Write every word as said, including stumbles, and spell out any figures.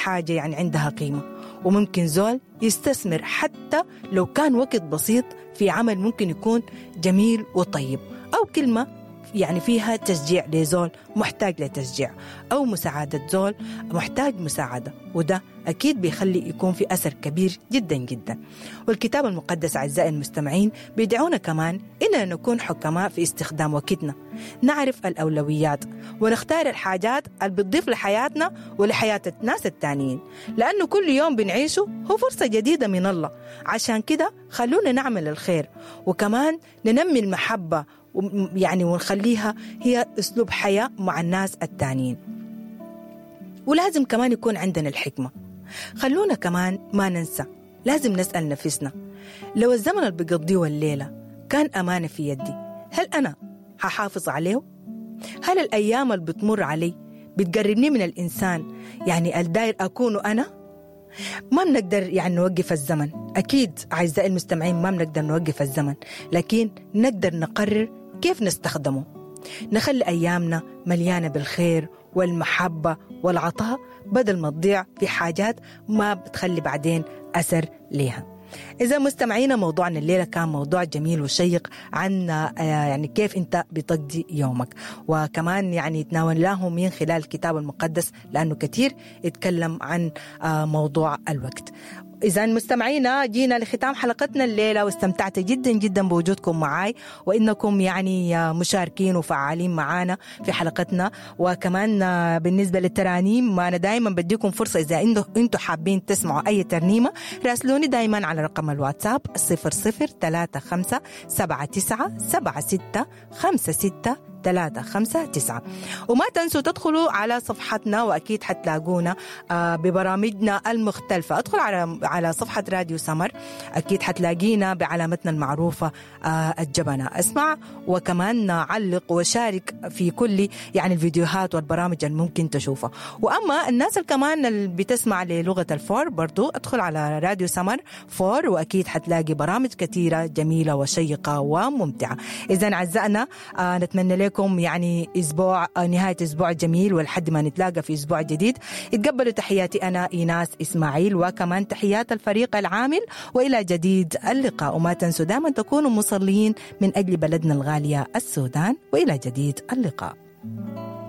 حاجة يعني عندها قيمة، وممكن زول يستثمر حتى لو كان وقت بسيط في عمل ممكن يكون جميل وطيب، أو كلمة يعني فيها تشجيع لزول محتاج لتشجيع، أو مساعدة زول محتاج مساعدة، وده أكيد بيخلي يكون في أثر كبير جدا جدا. والكتاب المقدس أعزائي المستمعين بيدعونا كمان إننا نكون حكماء في استخدام وقتنا، نعرف الأولويات ونختار الحاجات اللي بتضيف لحياتنا ولحياة الناس التانيين، لأنه كل يوم بنعيشه هو فرصة جديدة من الله. عشان كده خلونا نعمل الخير، وكمان ننمي المحبة يعني ونخليها هي أسلوب حياة مع الناس التانيين. ولازم كمان يكون عندنا الحكمة. خلونا كمان ما ننسى، لازم نسأل نفسنا لو الزمن اللي بقضيه الليلة كان أمانة في يدي، هل أنا هحافظ عليه؟ هل الأيام اللي بتمر علي بتقربني من الإنسان يعني الداير أكونه أنا؟ ما بنقدر يعني نوقف الزمن، أكيد أعزائي المستمعين ما بنقدر نوقف الزمن، لكن نقدر نقرر كيف نستخدمه. نخلي أيامنا مليانة بالخير والمحبة والعطاء بدل ما تضيع في حاجات ما بتخلي بعدين أثر ليها. إذا مستمعينا موضوعنا الليلة كان موضوع جميل وشيق عن يعني كيف أنت بتقضي يومك، وكمان يعني تناولناه من خلال الكتاب المقدس لأنه كثير يتكلم عن موضوع الوقت. إذا مستمعينا جينا لختام حلقتنا الليلة، واستمتعت جدا جدا بوجودكم معاي وإنكم يعني مشاركين وفعالين معانا في حلقتنا. وكمان بالنسبة للترانيم أنا دايما بديكم فرصة، إذا أنتم حابين تسمعوا أي ترنيمة راسلوني دايما على رقم الواتساب صفر صفر ثلاثة خمسة سبعة تسعة سبعة ستة خمسة ستة ثلاثة خمسة تسعة. وما تنسوا تدخلوا على صفحتنا وأكيد حتلاقونا ببرامجنا المختلفة. ادخل على على صفحة راديو سمر، أكيد حتلاقينا بعلامتنا المعروفة الجبنة. اسمع وكمان علق وشارك في كل يعني الفيديوهات والبرامج الممكن تشوفها. وأما الناس كمان اللي بتسمع للغة الفور برضو ادخل على راديو سمر فور وأكيد حتلاقي برامج كثيرة جميلة وشيقة وممتعة. إذا أعزائنا نتمنى لكم يعني أسبوع نهاية أسبوع جميل، ولحد ما نتلاقى في أسبوع جديد اتقبلوا تحياتي أنا إيناس إسماعيل، وكمان تحيات الفريق العامل، وإلى جديد اللقاء. وما تنسوا دائما تكونوا مصلين من أجل بلدنا الغالية السودان، وإلى جديد اللقاء.